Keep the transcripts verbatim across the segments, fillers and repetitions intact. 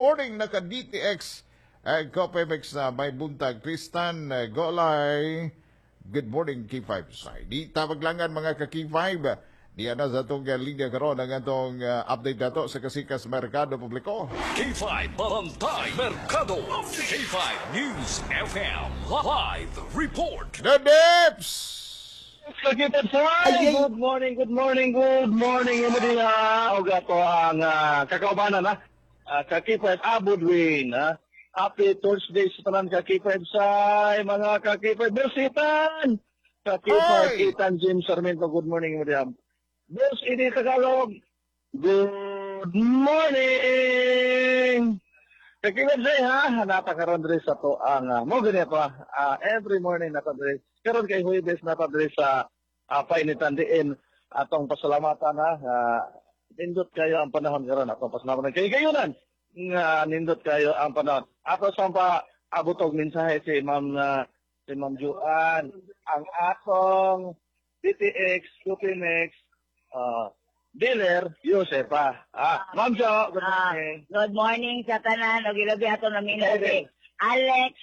morning, naka D T X uh, Copemex na may buntag. Tristan uh, Golay. Good morning, K five Say. Di tabaglangan mga ka-K five. Diya na sa atong uh, linya karon ang atong uh, update nato sa Kasikas Merkado Publiko. K five Bantay Merkado. K five News F M. Live Report. The Dips! Ay, good morning, good morning, good morning. Imo din na og ato ang uh, kakaubanan na. Uh, ka-K five Abudwin, ha. Happy Thursday sa tanan ka-K five sa mga ka-K five Bersitan. Ka-K five Ay! Ethan James Sarmiento, good morning imo diha. Boss ini Tagalog. Good morning. Ka-K five say ha, hanapa karon diri sa to ang uh, mo gani pa uh, every morning na diri. Karon kay Huwebes na diri sa uh, painitan diin atong pasalamatan ha. Uh, nindot kayo ang panahon karon, atong pasalamatan kay gayunan nga nindot kayo ang panahon. Ato sa pa abot og mensahe si Ma'am uh, si Ma'am Juan ang atong D T X Supimex uh, dealer Josefa. Ah, Ma'am Jo, good Ah, morning. Good morning sa tanan ug ilabi ato naminaw si Alex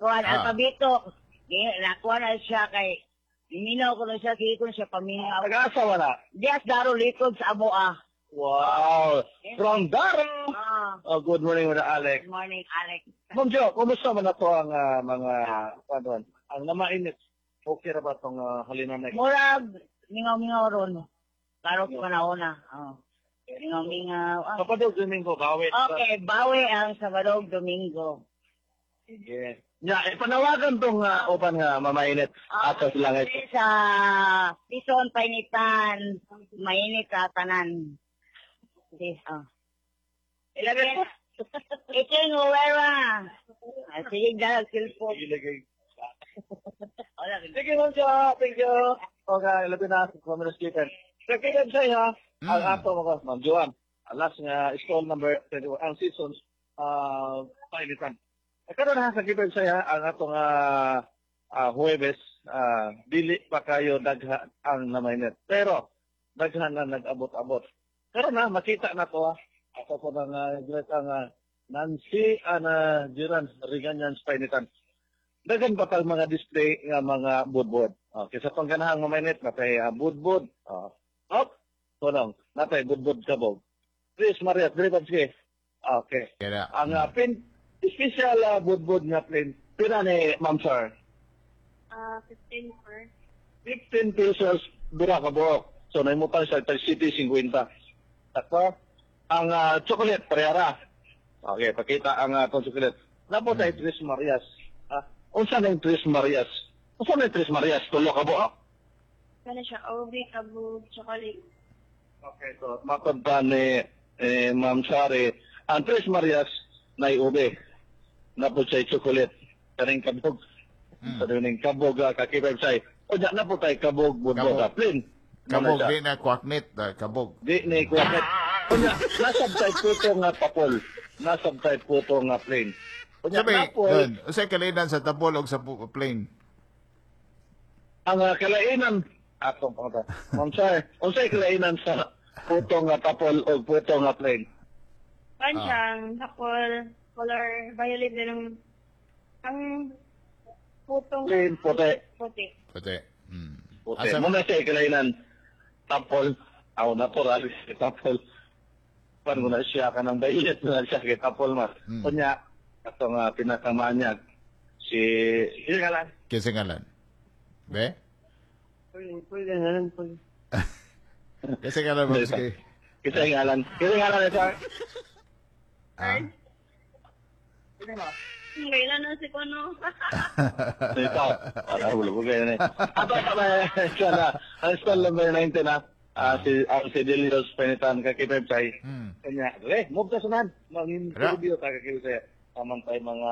kuan Ah. alpabito. Di nakuha na siya kay minaw ko na siya, sige ko na siya paminaw. Nag-asa wala. Dias Daro likod sa amo ah. Wow! From Daro! Ah, Oh, good morning, mga Alex. Good morning, Alex. Ma'am Jo, kumusta man na to ang ah, mga, ano, ang namainit? Okay ra ba itong uh, halina na? Murag mingaw-mingaw ron. Karong panahon na. Oh. Mingaw-mingaw. Ah. Sabado, Domingo, bawi. Okay, bawi ang Sabado ug Domingo. Sige. Nya, ipanawagan tong uh, upan nga mamainit ato sila ngayon. Sa Tison Painitan, mainit sa tanan. Sige, oh. Ilabi. Iking Uwera. Ah, sige, dahil cellphone. Sige, Wala. Sige, Ma'am Jo. Thank you. Okay, labi na. Communist Keeper. Sa sa'yo, ha? Ang Mm. ato mga Ma'am Joan. Alas nga stall number twenty-one. Ang seasons, uh, painitan. Karon ha, sa Keeper sa'yo, ang atong uh, uh, Huwebes, uh, dili pa kayo dagha ang namainit. Pero, daghan na nag-abot-abot. Karon na, makita na to ha. Ako po ng uh, ang uh, Nancy Ana Jiran Reganyan Painitan. Daghan pa tag mga display nga mga budbud. Okay, sa pangganahang mamainit natay uh, budbud. Oh. Hop, tunong, natay budbud kabog. Chris Maria, diri pa sige. Okay. Kaya, Ang uh, pin special uh, budbud nga plain. Pila ni Ma'am Sir? Ah, fifteen per. fifteen pesos dura ka buok. So nahimutang siya tag City fifty. Tako ang uh, chocolate parehara. Okay, pakita ang uh, atong chocolate. Napo tayo Tres Marias. Ah, unsa na yung Tres Marias? Unsa na yung Tres Marias? Tulo ka buok? Ano siya? Ube, kabog, chocolate. Okay, so matod pa ni eh, Ma'am Sari, ang Tres Marias na ube. Napo siya chocolate. Kaning kabog. Mm. Sa ning kabog uh, kakipay say. O na napo tayo kabog budbud. Kabog. Plain. Kabog, Muna siya. di na kwaknit, ah, kabog. Di ni kwakit. Unya, nasab tay puto nga papol. Nasab tay puto nga plain. Unya, Sabi, napol, dun, unsay kalainan sa tapol og sa pu- plane? Ang uh, kalainan, atong pangta. Ma'am Sir, unsay kalainan sa puto nga tapol o puto nga plain? Pan Ah. siyang tapol, color violet din ang ang putong Plain, puti. Puti. Puti. Mm. Puti. Asa- Muna siya kalainan tapol. Aw, natural, tapol. Pan mo na siya kanang violet na siya kay tapol mas. Mm. Unya, atong uh, pinakamanyag si sino nga lang? Kinsa ngalan? Be? Pwede nga lang. Kinsa ngalan mo sige? Kinsa ngalan? Kinsa ngalan sir? Ah. Kailan na si Kono? Ito. Para hulo ko kayo na eh. Ato pa ba siya na. Ang stall number nineteen na. Ah, si ang si Delios Penitan kakipep say. Hmm. Kanya, re, move ta sunan. Mang-interview ta kakipep say. Amang tayo mga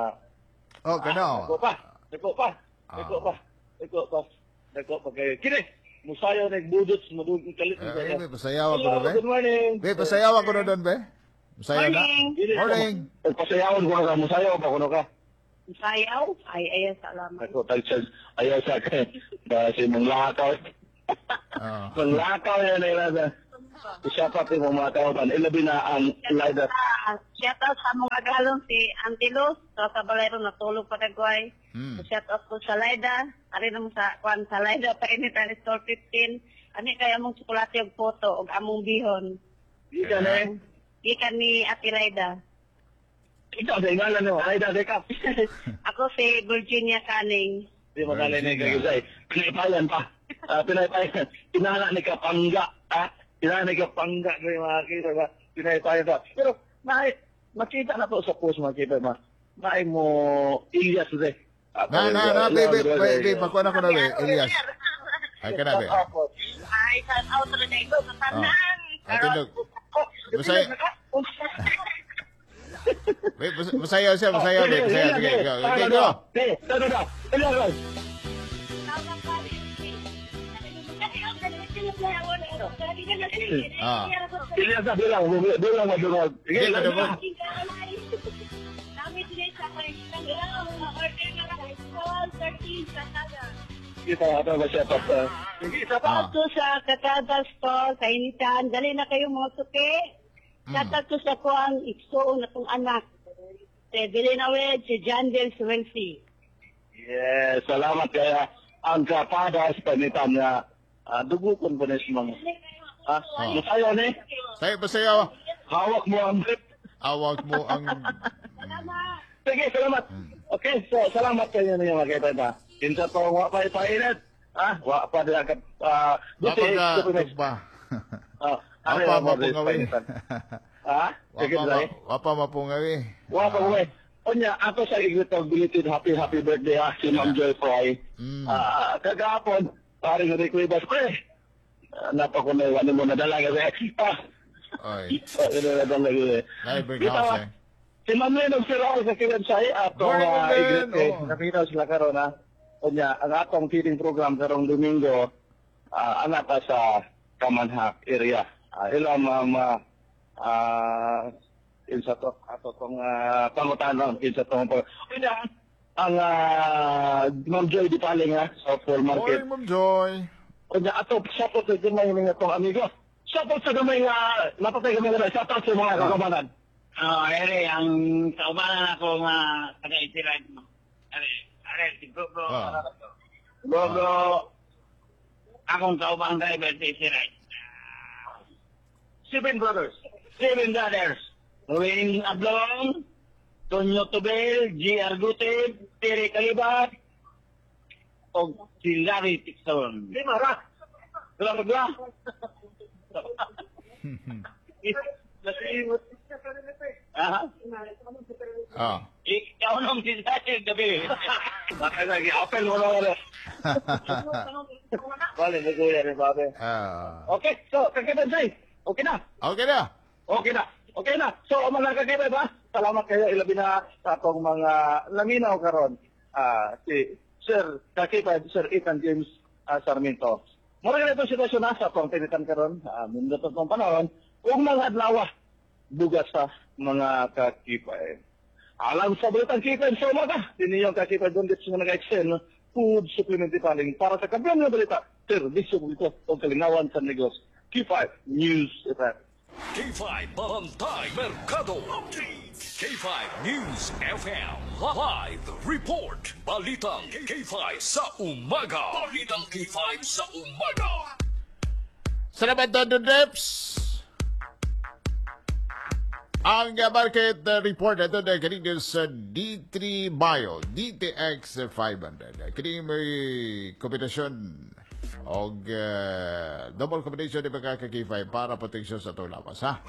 Oh, kano. Dako pa. Dako pa. Ah. Dako pa. Dako pa. Dako pa kayo. Kini, musayaw nagbudots madug kalit. Eh, be, pasayaw ako na, be. Good morning. Be, pasayaw ako na doon, be. Musayaw na. Morning. Morning. Pasayawon ko ka, musayaw pa kuno ka. Sayaw? Ay, ay, salamat. Ako tag ayaw sa akin. Kasi mong lakaw. Oh. Mong lakaw yan ay nasa. I-shout out mo mga kauban. Ilabi na ang Laida. Ah, shout out sa among agalon si Auntie Luz. So, sa balay ron natulog pa kagway. Mm. Shout out ko sa Laida. Ari naman sa kwan sa Laida painitan store fifteen. Ani kay among tsokolate ug photo ug among bihon. Ika na eh. Gikan ni Ate Laida. Ikaw sa ngalan mo. Laida, ka. Ako si Virginia Canning. Di mo nalay ni Kagusay. Pinaypayan pa. Ah, pinaypayan. Pinana ni Kapangga. Ah, pinana ni Kapangga. Ni mga kita ba? Pinaypayan pa. Pero, naay, makita na to sa post mga kita ma. Naay mo, Elias de. Ah, Na, na, na, baby, baby, pakuha na ko na, be, Elias. Ay, ka na, be. Ay, shout out rin ko sa tanan. Ah, tindog. Masaya. Wait, mas- masaya siya, masaya, be. Masaya, sige, go. Okay, go. Sige, go, go. Elias, Ah. Elias na, bilang, bilang, madungog. Sige, Sige, madungog. Kita, ato ba siya, top. Sige, isa pa. Ah. Shout out sa Kakada Store, kainitan. Dali na kayo mga suki. Shout out ko sa kuang igsuon na tong anak. Si Bilinawed, si John Del Suelsi. Yes, salamat kaya ang kapadas panitan nga uh, dugukon po na siya mga. Ah, Oh. masayo ni. Sayo, masaya. Hawak mo ang grip. Awag mo ang... Sige, salamat. Okay, so salamat kayo niyo mga kita na. Kinsa to wa pa ipainit. Ah, wa pa dira ka ah Wapa buti ka, ko na. tugba. Ah, Wapa are mo mapungawi. Ah, sige Wapa dai. ma- wapa mapungawi. Wa pa mo. Unya, ako sa igitog belated happy happy birthday ha si Ma'am Joy Fry. Mm. Ah, kagahapon, paring Rick Rivas, pre. Ah, Napakunay, ano mo nadala kasi. Ah, Oy, ano nadala kasi. library Bitaw, house, eh. Si Ma'am Lynn og Sir Raul sa Kiwebsay, atong Morning, uh, Ma'am Lynn. igrit eh. Oo. Nakita sila karon ha. Unya, ang atong feeding program karong Domingo, ah, anak pa sa Kamanhak area. Ah, ila ma'am, ah, ah, insa to, ato tong uh, pangutanon, insa tong pang... Unya, ang ah, Ma'am Joy Di Paling ha, sa Paul Market. Morning, Ma'am Joy. Kunya ato support sa gamay nga tong amigo. Support sa gamay nga napatay gamay nga shout out sa mga kagamanan. Oh, ere, ang kaubanan ako nga taga-itiran mo. Are, are, si bro, bro. Ah. Bro, bro. Akong kaubang driver si Isiray. Seven Brothers. Seven Brothers. Ruin Ablong, Tonyo Tubel, G. Argutib, Terry Calibat, o si Larry Tixon. Lima ra. Dala dala. Ah, Ah. ikaw nung si Larry gabi. Bakit lagi apel mo na wala. Bale, naguya rin babe. Ah. Okay, so kakitan say. Okay na. Okay na. Okay na. Okay na. So, mga kakibay ba? Salamat kayo ilabi na sa atong mga laminaw karon. Ah, si Sir Kakibay, Sir Ethan James ah, Sarmiento. Mura na itong sitwasyon na sa atong tinitan karon. Ah, mundo to itong panahon. Ug mga adlaw bugas sa mga kakipay. Alam sa balitang kipay sa umaga, diniyong kakipay doon dito sa nag-extend food supplement paling para sa kabilang nga balita, serbisyo publiko o kalingawan sa negosyo. K five News F M. K five Bantay Merkado Update. K five News F M Live Report. Balitang K five sa umaga. Balitang K five sa umaga. Salamat, Don Reps. Ang market report ito na kanina sa D three Bio, D T X five hundred. Kini may kombinasyon og, uh, double combination ni mga ka-K five para proteksyon sa itong lawas, ha?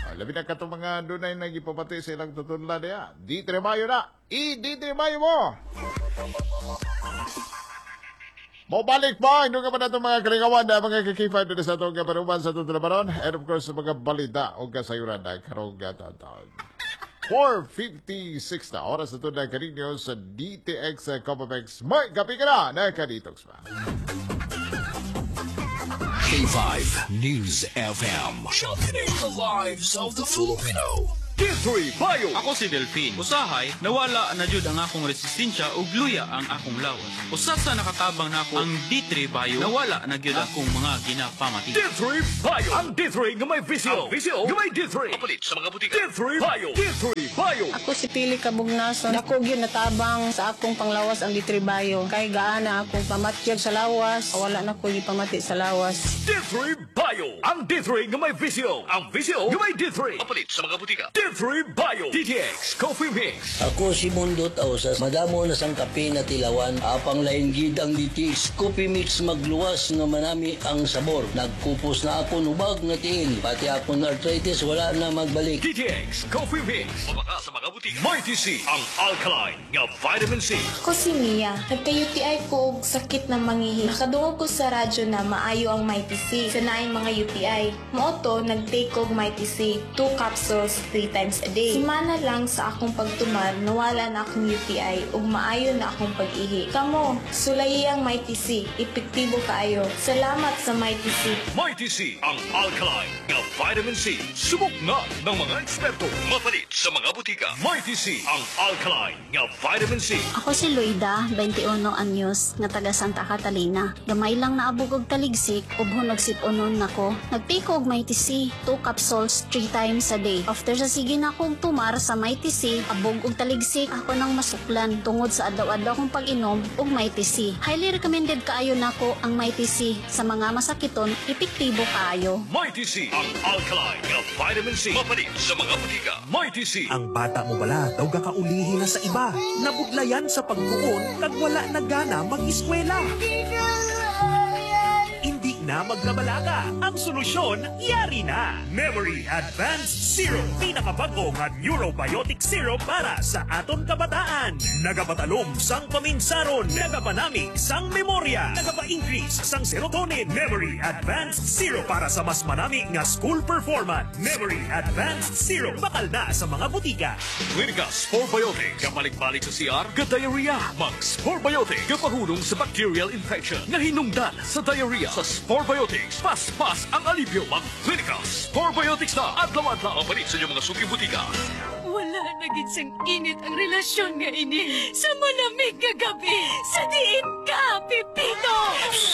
Ah, labi na katong mga dunay nagipapati sa ilang tutudlan niya. D three Bio na! I-D three Bio mo! Mobalik pa, hindi ka pa na itong mga kalingawan na mga ka-K five dito sa itong kaparuman sa itong trabaron. And of course, mga balita o kasayuran na karong taon. four fifty-six na oras na ito na kaninyo sa D T X Copamex. May kapi ka na, nakaditox pa. K five News F M. Championing the lives of the Filipino. D three Bio. Ako si Delphine. Usahay, nawala na jud ang akong resistensya ug luya ang akong lawas. Usa sa nakatabang nako ang D three Bio, nawala na gyud akong mga ginapamati. D three Bio. Ang D three nga may V C O. Ang V C O nga may D three. Mapalit sa mga butika. D three Bio. D three Bio. Ako si Pili Kabugnason. Dako gyud natabang sa akong panglawas ang D three Bio. Kay gaana akong pamatyag sa lawas. Wala na ko gipamati sa lawas. D three Bio. Ang D three nga may V C O. Ang V C O nga may D three. Mapalit sa mga butika. D three Bio. D T X Coffee Mix. Ako si Mundo Tausas. Madamo na sang kape na tilawan. Apang lain gid ang D T X Coffee Mix, magluwas nga manami ang sabor. Nagkupos na ako nubag nga tiil. Pati akong arthritis, wala na magbalik. D T X Coffee Mix. Mabaka sa mga butika. Mighty C. Ang alkaline nga vitamin C. Ako si Mia. Nagka-U T I ko og sakit na mangihi. Nakadungog ko sa radyo na maayo ang Mighty C sa naay mga U T I. Mao to, nag-take og Mighty C. Two capsules, three times a day. Simana lang sa akong pagtumar, nawala na akong U T I ug maayo na akong pag-ihi. Kamo, sulayi ang Mighty C. Epektibo kaayo. Salamat sa Mighty C. Mighty C. Ang alkaline nga vitamin C. Subok na ng mga eksperto. Mapalit sa mga butika. Mighty C. Ang alkaline nga vitamin C. Ako si Loida, twenty-one anyos, nga taga Santa Catalina. Gamay lang naabog og taligsik, ug sip-unon nako. Nag-take og Mighty C, two capsules, three times a day. After sa sige na akong tumar sa Mighty C, abog og taligsik ako nang masuklan tungod sa adlaw-adlaw kong pag-inom og Mighty C. Highly recommended kaayo nako ang Mighty C sa mga masakiton, epektibo kaayo. Mighty C. Ang alkaline nga vitamin C. Mapalit sa mga butika. Mighty C. Ang bata mo bala daw gakaulihi na sa iba. Nabudlayan sa pagtuon kag wala na gana mag-eskwela. Hindi na magkabalaka. Ang solusyon, yari na. Memory Advanced Syrup. Pinakabago nga neurobiotic syrup para sa aton kabataan. Nagapatalom sang paminsaron. Nagapanami sang memorya. Nagapa-increase sang serotonin. Memory Advanced Syrup para sa mas manami nga school performance. Memory Advanced Syrup. Bakal na sa mga butika. Clinica Sporebiotic. Kabalik-balik sa C R, ka-diarrhea. Mag Sporebiotic. Kapahulong sa bacterial infection. Nga hinungdan sa diarrhea. Sa Sporebiotics, paspas ang alibyo. Mag Clinica Sporebiotics na. Adlaw-adlaw. Mapalit sa inyong mga suking butika. Wala na gid sang init ang relasyon nga ini. Sa malamig nga gabi, sa diin ka, Pipito!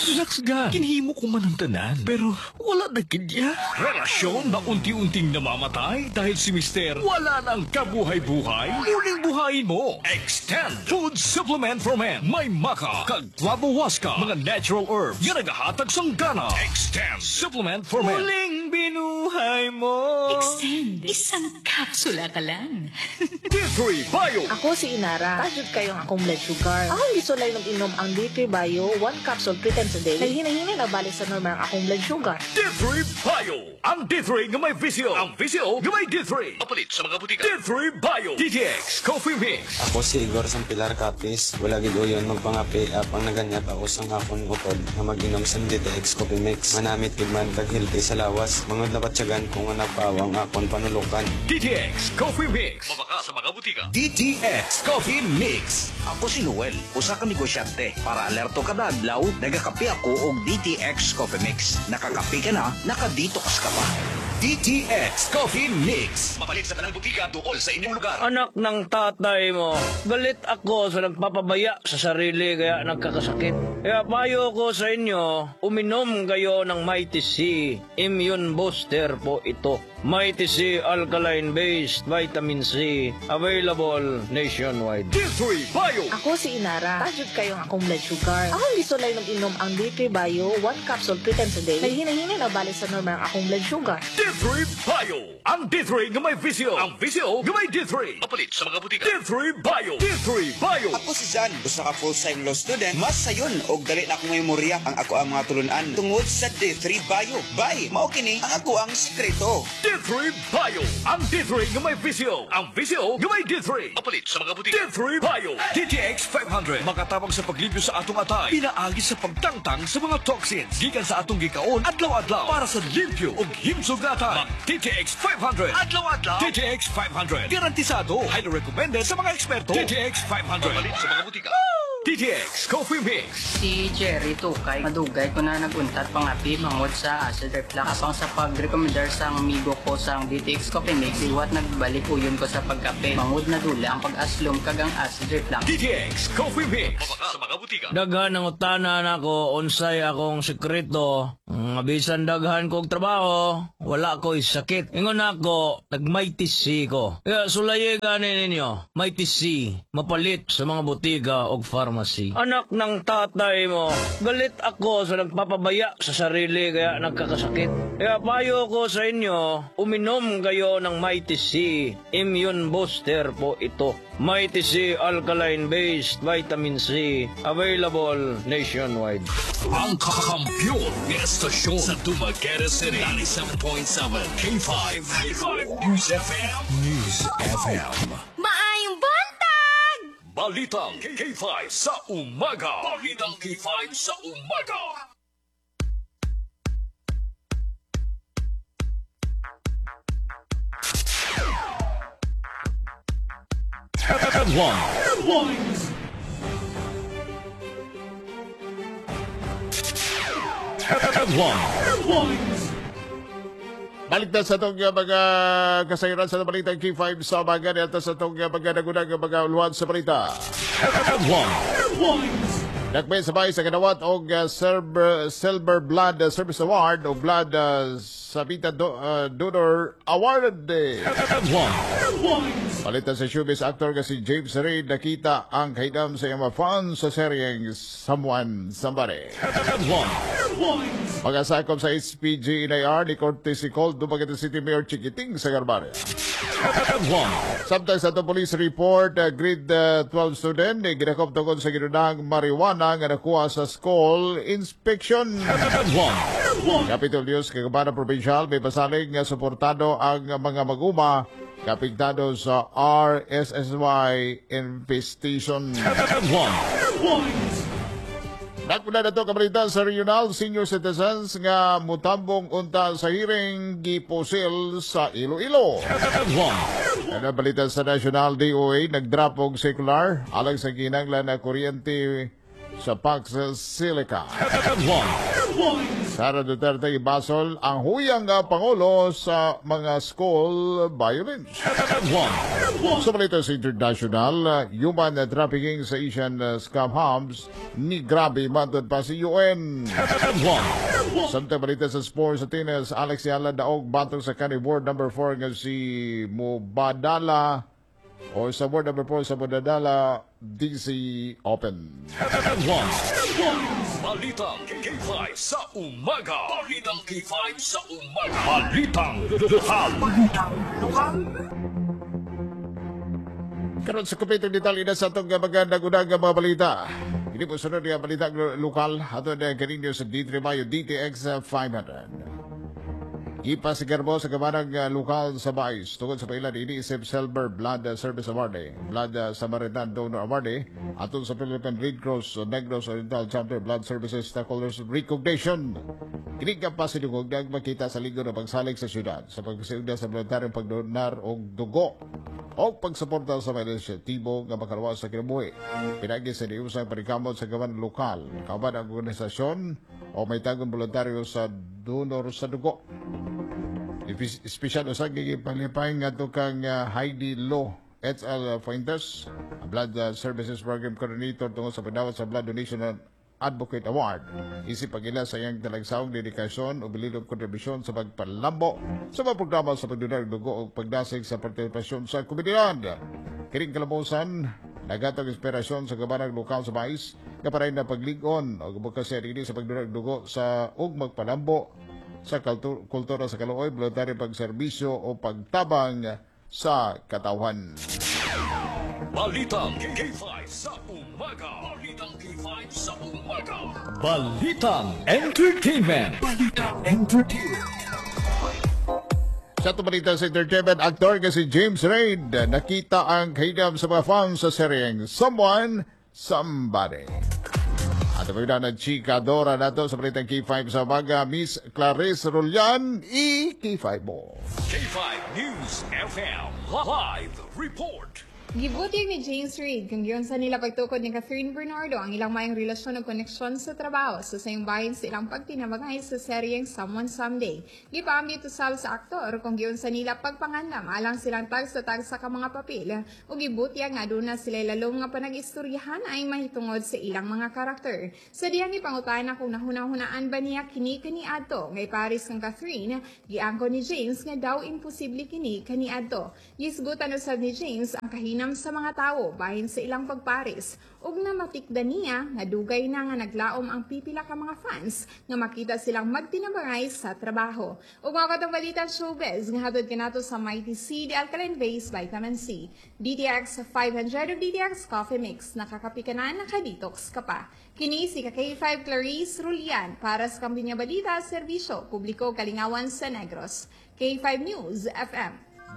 Relax ga. Kinhimo ko man ang tanan. Pero wala na gid ya. Relasyon na unti-unting namamatay dahil si Mister wala nang kabuhay-buhay. Muling buhayin mo. Extend Food Supplement for Men. May maca, kag waska, mga natural herbs. Yan nagahatag sang gana. Extend Supplement for Men. Muling binuhay mo. Extend. Isang kapsula ka lang. D three Bio. Ako si Inara. Taas jud kaayo ang akong blood sugar. Akong gisulay ng inom ang D three Bio, one capsule three times a day. Naghinay-hinay na balik sa normal ang akong blood sugar. D three Bio. Ang D three nga may V C O. Ang V C O nga may D three. Mapalit sa mga butika. D three Bio. D T X Coffee Mix. Ako si Igor sang Pilar Capiz. Wala gid uyon magpangape apang naganyat ako sang akon utod nga mag-inom sang D T X Coffee Mix. Manamit gid man kag healthy sa lawas. Mangod nabatyagan ko nga nagpawang akon panulukan. D T X Coffee Mix. Mabaka sa mga butika. D T X Coffee Mix. Ako si Noel, usa ka negosyante. Para alerto kada adlaw, nagakape ako og D T X Coffee Mix. Nakakape ka na, naka-detox ka pa. D T X Coffee Mix. Mapalit sa tanang butika duol sa inyong lugar. Anak ng tatay mo, galit ako sa nagpapabaya sa sarili kaya nagkakasakit. Kaya payo ko sa inyo, uminom kayo ng Mighty C. Immune booster po ito. Mighty C Alkaline Based Vitamin C. Available nationwide. D three Bio. Ako si Inara. Taas jud kaayo ang akong blood sugar. Akong gisulay ng inom ang D three Bio, one capsule three times a day. Naghinay-hinay na balik sa normal ang akong blood sugar. D three Bio. Ang D three nga may V C O. Ang V C O nga may D three. Mapalit sa mga butika. D three Bio. D three Bio. Ako si Jan, usa ka full-time law student. Mas sayon og dali na akong memorya ang ako ang mga tulunan tungod sa D three Bio. Bay, mao kini ang ako ang sikreto. D three Bio. Ang D three nga may V C O. Ang V C O nga may D three. Mapalit sa mga butika. D three Bio. D T X five hundred. Makatabang sa paglimpyo sa atong atay. Pinaagi sa pagtangtang sa mga toxins. Gikan sa atong gikaon adlaw-adlaw para sa limpyo ug himsog nga atay. Mag D T X five hundred. Adlaw-adlaw. D T X five hundred. Garantisado. Highly recommended sa mga eksperto. D T X five hundred. Mapalit sa mga butika. D T X Coffee Mix. Si Jerry Tukay, madugay ko na naguntat pangapi mangod sa acid reflux. Apang sa pag-recommendar sa amigo ko sa D T X Coffee Mix, liwat nagbalik uyon ko sa pagkape. Mangod na dula ang pag-aslom kag ang acid reflux. D T X Coffee Mix. Mabaka sa mga butika. Daghan ang utana nako unsay akong sekreto. Nga bisan daghan kog trabaho, wala ko'y sakit. Ingon ako, nag-Mighty C ko. Kaya sulayi gani ninyo, Mighty C, mapalit sa mga butika og pharmacy. Anak ng tatay mo, galit ako sa nagpapabaya sa sarili kaya nagkakasakit. Kaya payo ko sa inyo, uminom kayo ng Mighty C. Immune booster po ito. Mighty C Alkaline Based Vitamin C. Available nationwide. Ang kakampiyon nga estasyon sa Dumaguete City. ninety-seven point seven K five. K five News F M. News F M. Maayong buntag! Balitang K five sa umaga. Balitang K five sa umaga. Headline. Headlines. Headline. Headlines. Balik na sa itong uh, mga kasayuran sa balitang K five sa umaga niya sa itong uh, mga nagunang mga uluhan sa balita. Headline. Headlines. Nakbay sabay sa kanawat og uh, Silver, Silver Blood Service Award o Blood uh, Sabita Do, uh, Donor Award. Headline. Headlines. Palitan sa showbiz, actor nga si James Reid nakita ang kaidam sa iyang mga fans sa seryeng Someone Somebody. Headline. Headlines. Pagkasakop sa H P G N I R ni Corte si Cold Dumaguete City Mayor Chiquiting Sagarbarria. Headline. Samtang sa atong police report, uh, grade uh, twelve student eh, ginakop tungkol sa ginunang marijuana nga nakuha sa school inspection. Headline. Headlines. Capitol News, Kagabana Provincial, may pasalig nga suportado ang mga maguma kapiktado sa R S S Y infestation. Headline. Headlines. Nagpuna na ito kabalita sa regional, senior citizens nga mutambong unta sa hearing gipusil sa Iloilo. Headline. Ano balita sa national, D O A nagdrap og circular alang sa kinanglan na kuryente sa Pax Silica. Headline. Headlines. Sara Duterte ibasol ang huyang nga pangulo sa mga school violence. Headline. Sa balita sa international, uh, human trafficking sa Asian uh, scam hubs ni grabe matod pa sa U N. Headline. Samtang balita sa sports, sa tennis, Alex Eala daog batok sa kanhi world number four nga si Mubadala o sa world number four sa Mubadala D C Open. Headline. Balitang K five sa umaga. Balitang K five sa umaga. Balitang lokal. Balitang lokal. Karon sa kompletong detalye na sa atong mga nagunang mga balita. Hindi po sunod nga balita lokal ato na kaninyo sa D three Mayo D T X five hundred. Ipasigarbo sa kamanang uh, lokal sa Bais tungod sa pailan iniisip Silver Blood Service Award, eh. Blood uh, Samaritan Donor Award eh. Atol sa Philippine Red Cross uh, Negros Oriental Chapter Blood Services Stakeholders Recognition. Kini nga pasidungog makita sa linggo na pagsalig sa syudad sa pagpasiugda sa voluntaryong pagdonar og dugo o pagsuporta sa mga inisyatibo nga makaluwas sa kinabuhi. Pinagi sa diusang panikamot sa gawan lokal, kauban ang organisasyon o may tagong voluntaryo sa donor sa dugo. Espesyal usag gipalipay nga kang uh, Heidi Lo H L. Fuentes, Blood uh, Services Program Coordinator tungkol sa pagdawat sa Blood Donation and Advocate Award. Isip pagila sa iyang talagsaong dedikasyon o bililong kontribusyon sa pagpalambo sa mga programa sa pagdonar og dugo o pagdasig sa partisipasyon sa komunidad. Kining kalabusan, nagatag inspirasyon sa gabanag lokal sa Bais nga paray na pagligon o advocacy ini sa pagdonar og dugo sa ug magpalambo sa kaltu- kultura sa kaluoy, voluntaryo pagserbisyo o pagtabang sa katawhan. Balitang K five sa umaga. Balitang K five sa umaga. Balitang Entertainment. Balitang Entertainment. Sa balita sa entertainment, aktor nga si James Reid nakita ang kaidam sa mga fans sa seryeng Someone, Somebody. At ito na ng Chika Dora nato sa balitang K five sa umaga, Miss Clarice Rollan, i K five mo. K five News F M. Live Report. Gibutyag ni James Reid kung giunsa nila pagtukod ni Kathryn Bernardo ang ilang maayong relasyon ug koneksyon sa trabaho sa sayong bahin sa ilang pagtinabangay sa seryeng Someone Someday. Gipaambit usab sa aktor kung giunsa nila pagpangandam alang silang tagsa-tagsa ka mga papel ug gibutyag nga aduna sila lalom nga panag-istoryahan ay mahitungod sa ilang mga karakter. Sa diyang ipangutana kung nahuna-hunaan ba niya kini kaniadto nga iparis kang Kathryn, giangko ni James nga daw imposible kini kaniadto. Gisgutan usab ni James ang kahinam sa mga tawo bahin sa ilang pagparis ug namatikdan niya nga dugay na nga naglaom ang pipila ka mga fans nga makita silang magtinabangay sa trabaho. Ug mga katong balita showbiz nga hatod kanato sa Mighty C, the alkaline base vitamin C. D T X five hundred ug D T X Coffee Mix, nakakapi ka na, nakadetox ka pa. Kini si K five Clarice Rulian para sa Kampinya Balita, Serbisyo Publiko, Kalingawan sa Negros. K five News F M.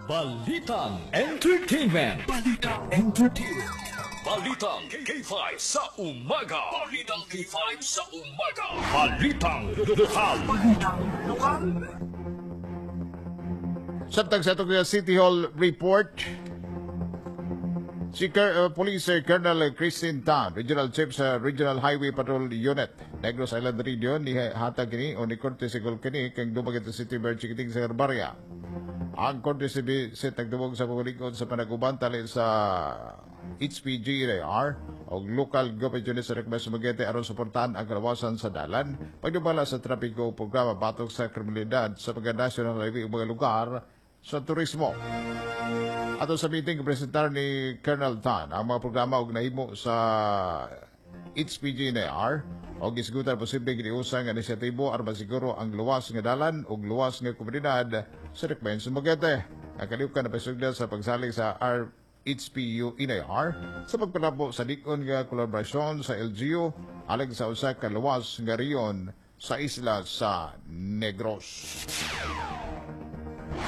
Balitang Entertainment. Balitang Entertainment. Balitang K five sa umaga. Balitang K five sa umaga. Balitang Lokal. Balitang Lokal. Samtang sa atong City Hall report, si Ker- uh, Police uh, Colonel Christine Tan, Regional Chief sa Regional Highway Patrol Unit, Negros Island Region, ni hatag kini o ni courtesy call kini kang Dumaguete City Mayor Chiquiting Sagarbarria. Ang courtesy visit nagdumog sa pagulingkod sa panaguban tali sa H P G R o local government unit sa Recmes Dumaguete aron suportahan ang kalawasan sa dalan, pagdumala sa trapiko, programa batok sa kriminalidad sa mga national highway ug mga lugar sa turismo. Ato sa meeting, presentar ni Colonel Tan ang mga programa og nahimo sa H P G N R o gisgutan posible giniusa nga inisyatibo aron masiguro ang luwas nga dalan ug luwas nga komunidad sa Recmen Dumaguete. Ang kaliwkan na pasugdan sa pagsalig sa R H P U N I R sa pagpalabo sa lig-on nga kolaborasyon sa L G U alang sa usa ka luwas nga rehiyon sa isla sa Negros.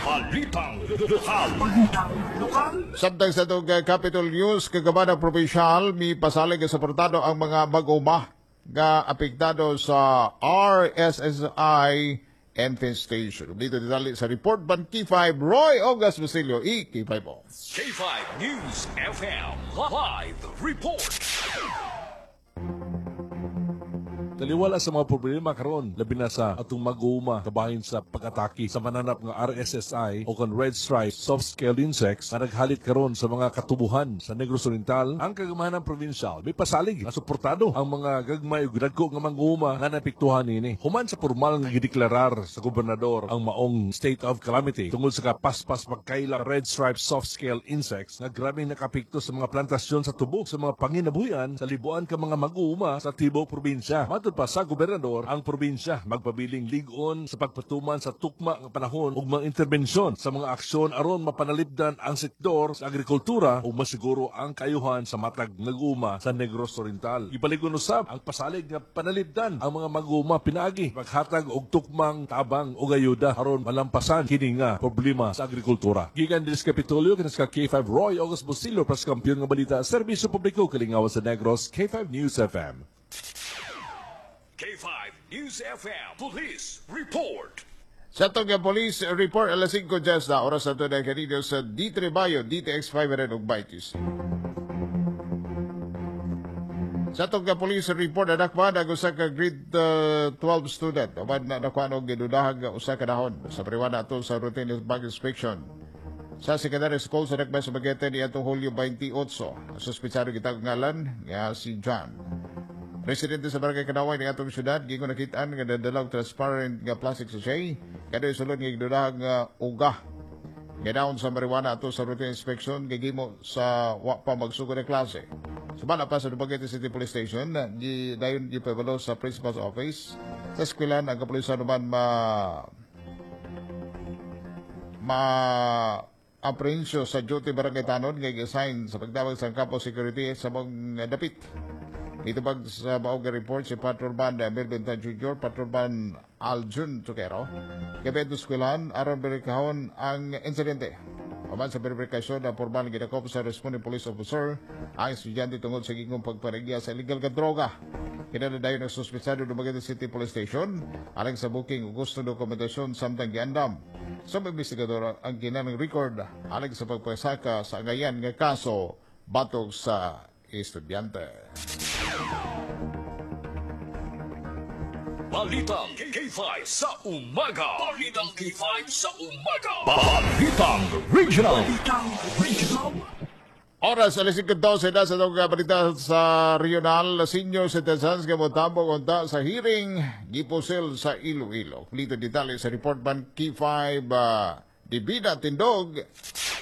Balitang Lokal. Balitang Lokal. Samtang sa itong uh, Capitol News, kagamanan provincial, mi pasalig nga suportado ang mga mag-uma nga apektado sa R S S I infestation. Dito ditali sa report ban K five Roy August Basilio, E K five O. K five News F M Live Report. Taliwala sa mga problema karon, labi na sa atong mag-uuma kabahin sa pag-atake sa mananap nga R S S I o kon red stripe soft scale insects nga naghalit karon sa mga katubuhan sa Negros Oriental, ang kagamanan provincial may pasalig nga suportado ang mga gagmay ug dagko nga mag-uuma nga naapektuhan niini. Human sa formal nga gideklarar sa gobernador ang maong state of calamity tungod sa kapaspas pagkaila red stripe soft scale insects nga grabe nakapekto sa mga plantasyon sa tubo sa mga panginabuhian sa libuan ka mga mag-uuma sa tibuok probinsya. Matud pa sa gobernador, ang probinsya magpabiling lig-on sa pagpatuman sa tukma nga panahon ug mga interbensyon sa mga aksyon aron mapanalipdan ang sektor sa agrikultura ug masiguro ang kayuhan sa matag nag-uma sa Negros Oriental. Ipaligon usab ang pasalig nga panalipdan ang mga mag-uma pinaagi paghatag og tukmang tabang ug ayuda aron malampasan kini nga problema sa agrikultura. Gikan diri sa Kapitolyo, kini sa K five Roy August Bosillo para sa Kampiyon nga Balita, Serbisyo Publiko, Kalingawan sa Negros, K five News F M. K five News F M Police Report. Sa atong nga police report, alas singko just na oras na ito na kanino sa D three Bayo, D T X five hundred ug Bitis. Sa atong nga police report, nadakpan ang usa ka grade uh, twelve student. Uban na nakuha og gidudahag nga usa ka dahon sa marijuana ato sa routine bag inspection sa secondary school sa Nagmay Dumaguete ni atong Hulyo twenty-eight. Ang suspitsado gitawag ngalan nga si John. Residente sa Barangay Kanaway ng atong syudad, gingon nakitaan nga dadala og transparent nga plastic sachet, kada sulod nga gidudahag nga uga nga dahon sa marijuana ato sa routine inspection gigimo sa wa pa magsugod ang klase. Sumala pa sa Dumaguete City Police Station, di dayon gipabalo sa principal's office. Sa eskwelahan ang kapulisan naman ma ma aprehensyo sa duty barangay tanod nga gi-assign sa pagdawag sa campus security sa mga dapit. Itubag sa maong report si Patrolman Melvin Tan Junior, Patrolman Aljun Tuquero. Gabi eskwelahan aron berikahon ang insidente. Human sa verifikasyon na formal gidakop sa responding police officer ang estudyante tungod sa gingkong pagpanagya sa illegal nga droga. Kinala dayon ang suspetsado Dumaguete City Police Station alang sa booking ug gustong dokumentasyon samtang giandam sa mga investigador ang kinahanglang record alang sa pagpasaka sa angayan nga kaso batok sa estudyante. Balitang K five sa umaga. Balitang K five sa umaga. Balitang Regional. Balitang Regional. Oras, alas singko dose na sa itong balita sa regional. Senior citizens nga motambok unta sa hearing gipusil sa Iloilo. Dito detalye sa report man K five uh, Divina Tindog,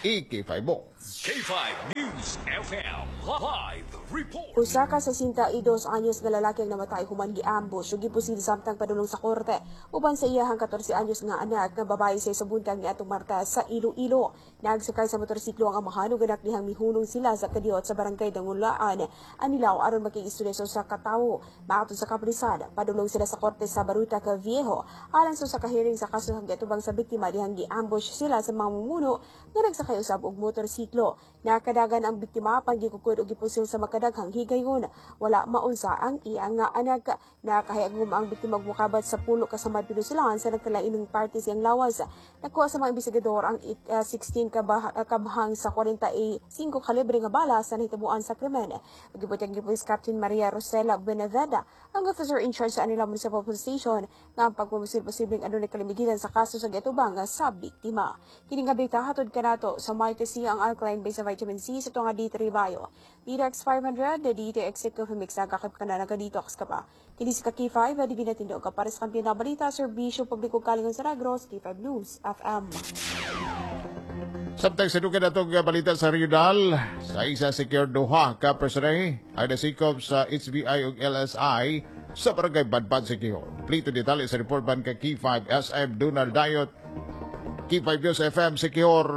I K five mo. K five News F M Live Report. Usa ka sesenta y dos anyos nga lalaki ang namatay human gi-ambush ug gipusil samtang padulong sa korte uban sa iyahang katorse anyos nga anak nga babae sa sa buntag niadtong Martes sa Iloilo. Nagsakay sa motorsiklo ang amahan ug anak dihang mihunong sila sa kadiyot sa barangay Dangulaan, Anilao, aron makiistorya sa usa ka tawo. Matod sa kapulisan, padulong sila sa korte sa Baruta Viejo alang sa usa ka hearing sa kaso ang giatubang sa biktima dihang gi-ambush sila sa mga mumuno nga nagsakay usab og motorsiklo. Nakadagan ang biktima apan gikukod og gipusil sa makadaghang higayon. Wala maunsa ang iyang nga anak. Nakahayagum ang biktima og mukabat sa pulo ka samad pinusilan sa nagkalainong parte siyang lawas. Nakuha sa mga investigador ang uh, sixteen kabah- uh, kabahang sa kuwarenta y singko kalibre nga bala sa nahitabuan sa krimen. Gibutyag ni Police Captain Maria Rosela Benaveda, ang officer in charge sa Anilao Municipal Police Station, nga ang pagpumusil posibleng adunay kalimigilan sa kaso sa giatubang sa biktima. Kini nga balita hatod kanato sa Mighty C, ang alkaline base sa vitamin C sa tuwang D three Bio. D T X five hundred, the D T X Coffee Mix, nagkakip ka na, nag-detox ka pa. Kini si K five, di binatindog ka para sa kampiyon na balita, serbisyo publiko kalingon sa Negros, K five News, F M. Samtang sa dugan natong balita sa regional, sa isa secure duha ka personahe ang nasikop sa H B I ug L S I sa barangay Banban, Siquijor. Plito detalye sa report ban ka K five S M Donald Dayot. K five News F M Siquijor.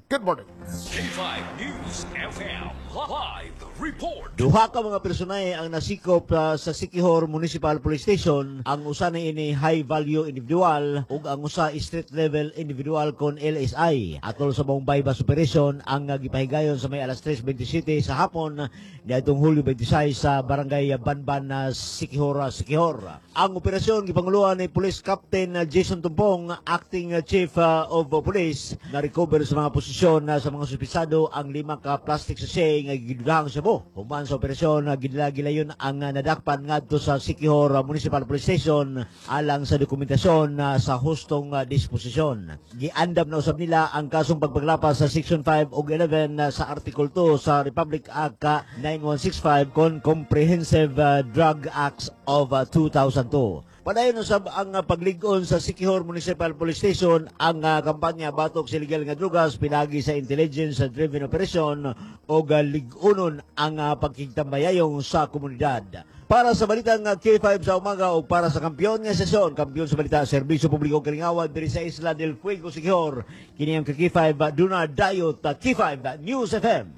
Good morning. K five News F M Live Report. Duha ka mga personahe ang nasikop uh, sa Siquijor Municipal Police Station. Ang usa na ini high value individual ug ang usa street level individual kon L S I. Atol sa buong buy-bust operation ang uh, gipahigayon sa may alas tres bintisiete sa hapon niadtong Hulyo bintisias sa barangay Banban na Siquijor, Siquijor. Ang operasyon gipanguluhan ni Police Captain uh, Jason Tumpong, acting uh, chief uh, of police, na recover sa mga posisyon uh, sa mga suspitsado ang lima ka plastic sachet nga gidudahang shabu. Human sa operasyon, uh, gidala gilayon ang uh, nadakpan ngadto sa Siquijor uh, Municipal Police Station alang sa dokumentasyon uh, sa hustong uh, disposisyon. Giandam na usab nila ang kasong pagpaglapas sa Section five ug eleven uh, sa Article two sa Republic Act uh, nine one six five kon Comprehensive uh, Drug Acts of uh, two thousand two. Padayon usab ang uh, paglig-on sa Siquijor Municipal Police Station ang uh, kampanya batok sa illegal nga drugas pinagi sa intelligence-driven operation o uh, lig-unon ang uh, pagkigtambayayong sa komunidad. Para sa balitang uh, K five sa umaga o para sa kampiyon nga sesyon, kampiyon sa balita, serbisyo publiko kalingawan diri sa Isla del Fuego, Siquijor. Kini ang K five uh, Duna Dayot, uh, K five News F M.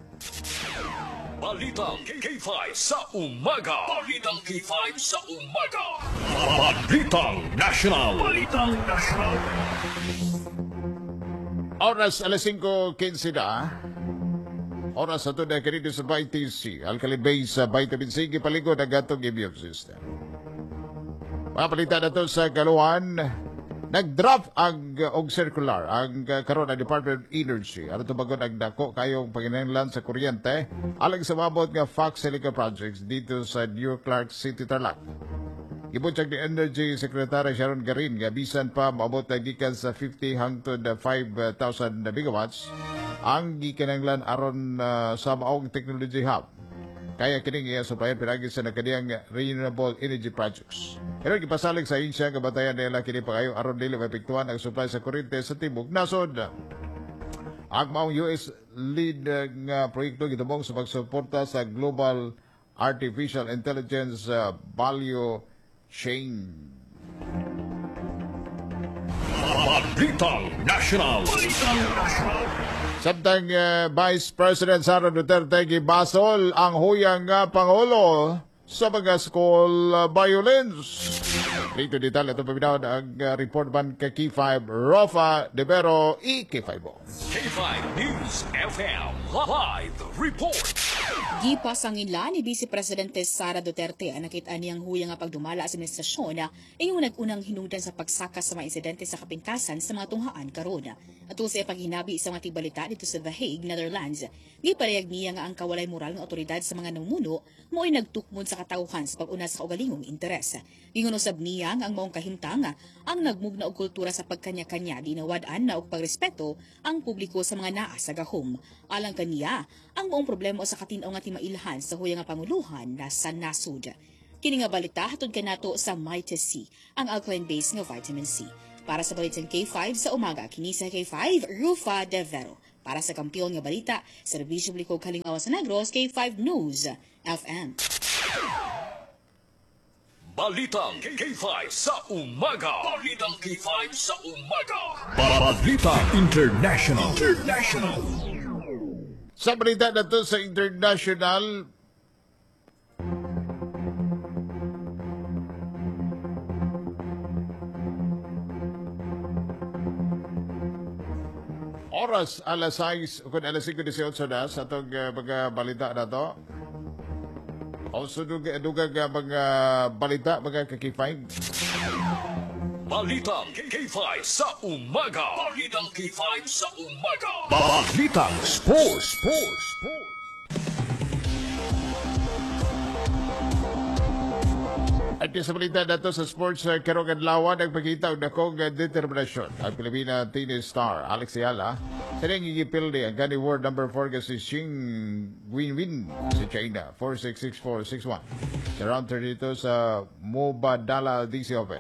Balitang K five sa umaga. Balitang K five sa umaga. Balitang National. Balitang National. Oras alas singko kinse na. Oras sa ito na kanito sa Vitamin C. Alkaline base sa vitamin C, gipaligod ang atong immune system. Mga balita na to sa kaluan, nag-draft ang og circular ang uh, karon ang Department of Energy aron tubagon ang dako kayong panginahanglan sa kuryente alang sa mabot nga Fox Silica projects dito sa New Clark City, Tarlac. Gibutyag ni Energy Secretary Sharon Garin nga bisan pa maabot na gikan sa fifty hangtod five thousand megawatts ang gikinahanglan aron uh, sa maong technology hub. Kaya kining iya supplyan pinagi sa nakadiyang renewable energy projects. Pero gipasalig sa ahensya nga batayan nila kini pagayo aron dili maepektuhan ang supply sa kuryente sa tibok nasod. Ang maong U S lead uh, nga proyekto gitumong sa pagsuporta sa global artificial intelligence uh, value chain. Balitang National. Balitang National. Samtang uh, Vice President Sara Duterte gibasol ang huyang nga pangulo sa mga school uh, violence. Dito detalye ito paminaw ang uh, report man kay K five Rafa De Vero, I K five. K five News F M Live Report. Gipasanginla ni Vice Presidente Sara Duterte ang nakita niyang huya nga pagdumala sa administrasyon na iyong nag-unang hinungdan sa pagsaka sa mga insidente sa kapintasan sa mga tunghaan karon. Atol sa paghinabi sa mga tigbalita dito sa The Hague, Netherlands, giparayag niya nga ang kawalay moral ng otoridad sa mga namumuno mo'y nagtukmod sa katawhan sa pag-una sa kaugalingong interes. Gingon usab niya nga ang maong kahimtang ang nagmugna og kultura sa pagkanya-kanya dinawad-an na og pagrespeto ang publiko sa mga naa sa gahom. Alang kaniya, ang maong problema sa katin-aw nga timailhan sa huya nga panguluhan na sa nasud. Kini nga balita hatod kanato sa Mighty C, ang alkaline base nga vitamin C. Para sa Balitang K five sa umaga, kini sa K five, Rufa De Vero. Para sa kampiyon nga balita, serbisyo publiko Kalingawan sa Negros, K five News F M. Balitang K five sa umaga. Balitang K five sa umaga. Balita International. International. Sa balita na to sa international, oras alas sais kung alas singko diesiocho na sa atong uh, mga balita na to. O dugag uh, mga balita, mga ka K five. Balitang K five sa umaga. Balitang K five sa umaga. Balitang Sports. Sports. At sa balita na to sa sports, uh, karong adlaw nagpakita og dakong uh, determinasyon ang Pilipina tennis star Alex Eala sa niyang gigipildi ang gani world number four nga si Xing Winwin sa China, four six six four six one sa round thirty-two sa Mubadala D C Open.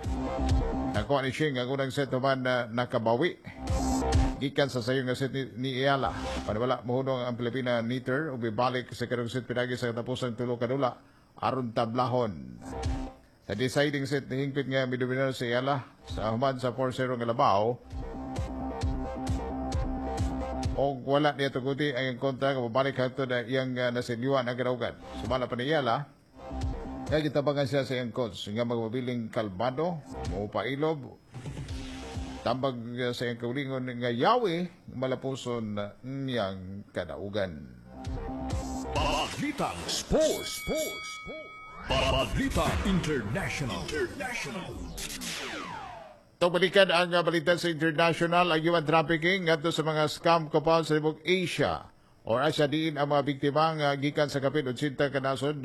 Nakuha ni Xing ang unang set naman na nakabawi gikan sa sayo nga set ni, ni Eala. Panawala mohunong ang Pilipina neater ug bibalik sa karong set pinagi sa katapusang tulo ka dula aron tablahon. Sa deciding set, nihingpit nga midominar si Eala sa human sa four zero nga labaw. O wala niya tuguti ang kontra nga mabalik hangtod na iyang uh, nasilyuan ang kadaugan. Sumala pa ni Eala, nga gitabangan siya sa iyang coach nga magmabiling kalmado, mupailob, tambag uh, sa iyang kaulingon nga yawi, malapuson niyang kadaugan. Balitang Sports. Sports. Balita International. International. Ito balikan ang balita sa international, ang human trafficking ngadto sa mga scam compound sa libog Asia or Asia diin ang mga biktima nga gikan sa kapin otsinta ka nasod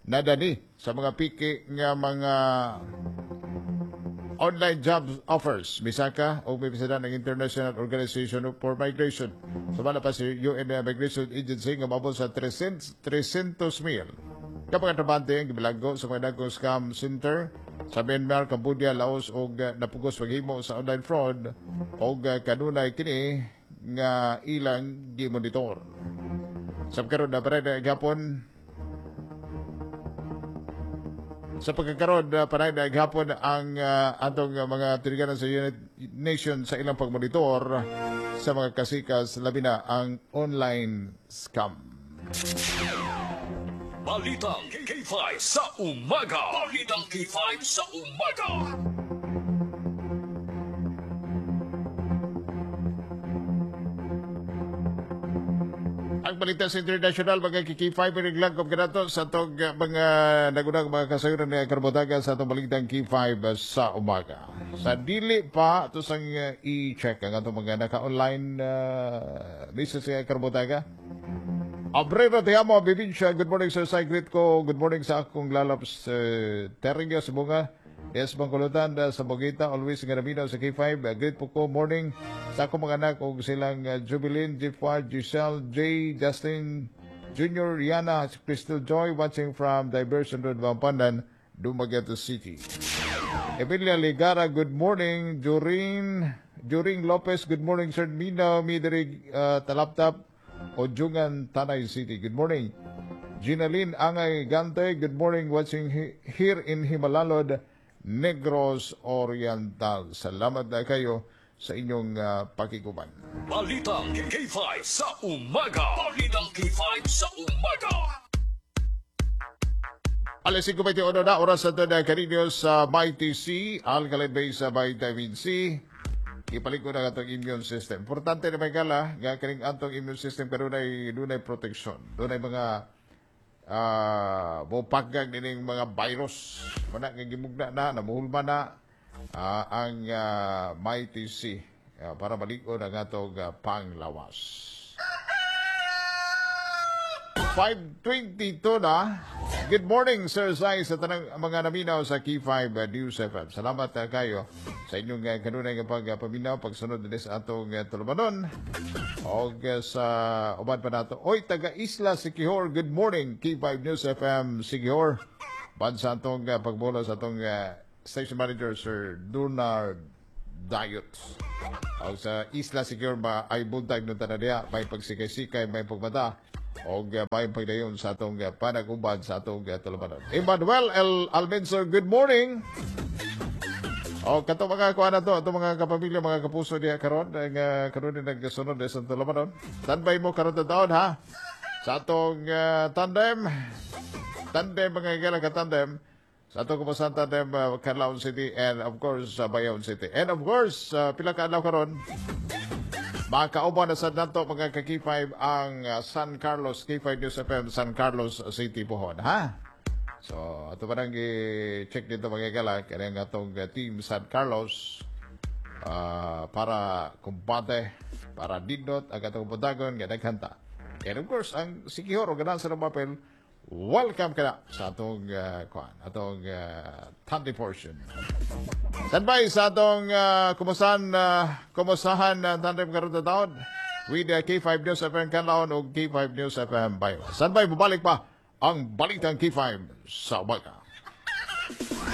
nadani sa mga piki nga mga online job offers. Misaka o may bisita ng International Organization for Migration. Sumala pa si U N Migration Agency nga maabot sa three hundred mil. Kapag trabante ang gibilanggo sa mga dagkong scam center sa Myanmar, Cambodia, Laos og napugos paghimo sa online fraud og kanunay kini nga ilang gimonitor. Sa pagkaroon na paray na gihapon sa pagkakaroon na paray na gihapon ang uh, atong mga tiniganan sa United Nations sa ilang pagmonitor sa mga kasikas labi na ang online scam. Balitang K five sa umaga. Balitang K five sa umaga. Ang balita sa international, mga K five, piniglang kanato sa atong mga nagunang mga kasayuran ni Karbotaga sa atong balitang K five sa umaga. Sa dili pa, ito sang i-check ang atong mga naka-online uh, list sa Karbotaga. Abrera, te amo, Bibinsya. Good morning, sir. Sa greet ko. Good morning sa akong lalaps uh, Teringyo sa Bunga. Yes, Bangkulutan uh, sa Bogita. Always nga namino sa K five. Uh, greet po ko. Morning sa akong mga anak og silang uh, Jubilin, Jifwa, Giselle, Jay, Justin, Junior, Rihanna, Crystal Joy, watching from Diversion Road, Vampandan, Dumaguete City. Emilia Ligara, good morning. During, During Lopez, good morning, sir. Mina, Midrig, uh, Talaptap, Ojungan, Tanay City. Good morning. Ginaline Angay Gante, good morning, watching he, here in Himalalod, Negros Oriental. Salamat na kayo sa inyong uh, pakikuban. Balitang K five sa umaga. Balitang K five sa umaga. Alas singko bente uno na oras sa na kaninyo sa Mighty C, alkaline base sa vitamin C. Ipaliko na atong immune system. Importante na may gala, nga kaning atong immune system kanunay dunay protection. Dunay mga uh, mopaggang nining mga virus. Mana nga gimugna na, namuhulma na uh, ang uh, Mighty C uh, para maliko na atong uh, panglawas. five twenty-two na. Good morning, Sir Zai, sa tanang mga naminaw sa K five uh, News F M. Salamat uh, kayo sa inyong uh, kanunay nga pagpaminaw, pagsunod din sa atong uh, tulumanon. O uh, sa uban pa nato. Oy, taga Isla Siquijor, good morning, K five News F M Siquijor. Ban sa atong uh, pagbola sa atong uh, station manager, Sir Donard Dayot. O sa Isla Siquijor ba ay buntag nung tanan diha, may pagsikay-sikay, may pagmata o uh, may pagdayon sa atong uh, panag-uban sa atong uh, tulumanon. Emmanuel L. Almenso, good morning! O kato mga kuan na to, ato mga kapamilya, mga kapuso diha karon, ang uh, karon ni nagsunod sa tulumanon. Standby mo karon taon ha. Sa atong uh, tandem, tandem mga higala ka tandem, sa atong kumusan tandem uh, Canlaon City and of course sa uh, Bayaon City. And of course, uh, pila ka adlaw karon, makauban na sa nato mga ka K five ang uh, San Carlos, K five News F M San Carlos City pohon, ha? So, ato pa nang i-check dito mga higala, kaya nga atong uh, team San Carlos uh, para kumbate, para dindot ang atong buntagon nga naghanta. And of course, ang Siquijor o ganan sa papel, welcome ka na sa atong uh, kuan, atong uh, Thunder portion. Standby sa atong uh, kumusahan, uh, kumusahan uh, tandem karon taon with uh, K five News F M Canlaon o K five News F M Bayo. Standby, bumalik pa ang Balitang K five sa umaga.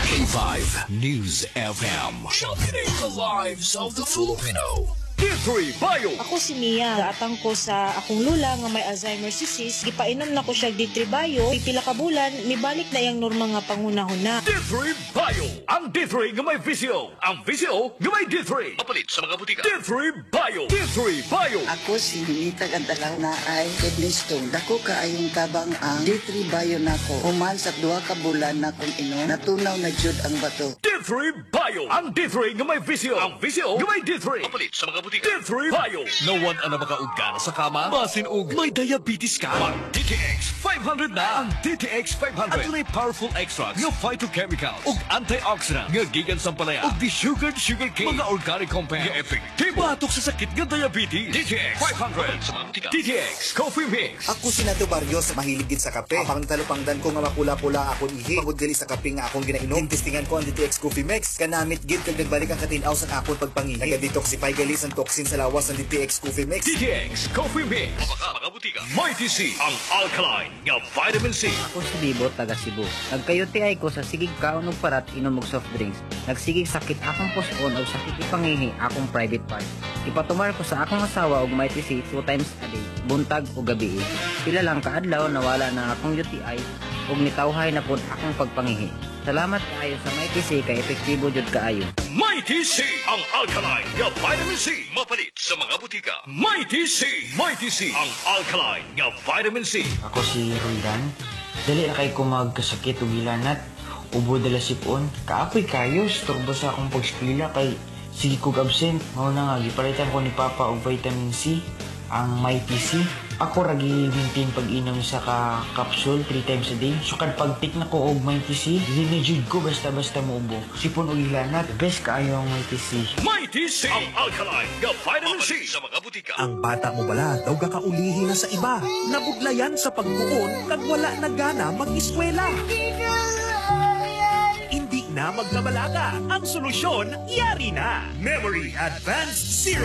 K five News F M. Championing the lives of the Filipino. D three Bio. Ako si Mia. Gaatang ko sa akong lula nga may Alzheimer's disease. Gipainom na ko siya D three Bio. Pipila ka bulan, mibalik na iyang normal nga panghunahuna. D three Bio. Ang D three nga may V C O. Ang V C O nga may D three. Mapalit sa mga butika. D three Bio. D three Bio. Ako si Ninita Gantalaw na ay kidney stone. Dako kaayong tabang ang D three Bio nako. Human sa duha ka bulan na kong inom, natunaw na jud ang bato. D three Bio. Ang D three nga may V C O. Ang V C O nga may D three. Mapalit sa mga butika. D three Bio. No one ang makauga na sa kama. Basin og may diabetes ka. Mag D T X five hundred na. Ang D T X five hundred. Adunay powerful extracts nga phytochemicals ug antioxidant nga gikan sa palaya ug desugared sugar cane. Mga organic compound nga epektibo batok sa sakit nga diabetes. D T X five hundred sa mga butika. D T X Coffee Mix. Ako si Nato Barrios, mahilig gid sa kape. Apang talupangdan ko nga mapula-pula akong ihi. Pagod gali sa kape nga akong ginainom. Tintistingan ko ang D T X Coffee Mix. Kanamit gid kag nagbalik ang katinaw sa akong pagpangihi. Naga-detoxify gali sa toxin sa lawas ang D T X Coffee Mix. D T X Coffee Mix. Mabaka mga butika. Mighty C, ang alkaline nga vitamin C. Ako si Bibo, taga Cebu. Nagka-U T I ko sa sigig kaon og parat, inom og soft drinks. Nagsigig sakit akong puson og sakit ipangihi akong private part. Ipatumar ko sa akong asawa og Mighty C two times a day, buntag o gabi. Pila lang kaadlaw nawala na akong U T I ug nitawhay na pud akong pagpangihi. Salamat kaayo sa Mighty C kay epektibo jud kaayo. Mighty C, ang alkaline nga vitamin C. Mapalit sa mga butika. Mighty C, Mighty C, ang alkaline nga vitamin C. Ako si Roldan. Dali na kay ko magkasakit ug hilanat. Ubo dala sipon. Kaapoy kayo, storbo sa akong pagskwela kay sige kog absent. Mao na nga gipalitan ko ni Papa og vitamin C, ang Mighty C. Ako ra gi-maintain pag-inom sa ka capsule three times a day. Sukad pag-take na ko og Mighty C, dili na jud ko basta-basta muubo. Sipon og hilanat, best kaayo ang Mighty C. Mighty C, ang alkaline nga vitamin C sa mga butika. Ang bata mo bala daw gakaulihi na sa iba. Nabudlayan sa pagtuon kag wala na gana mag-eskwela. Hindi na magkabalaka. Ang solusyon, yari na. Memory Advanced Zero.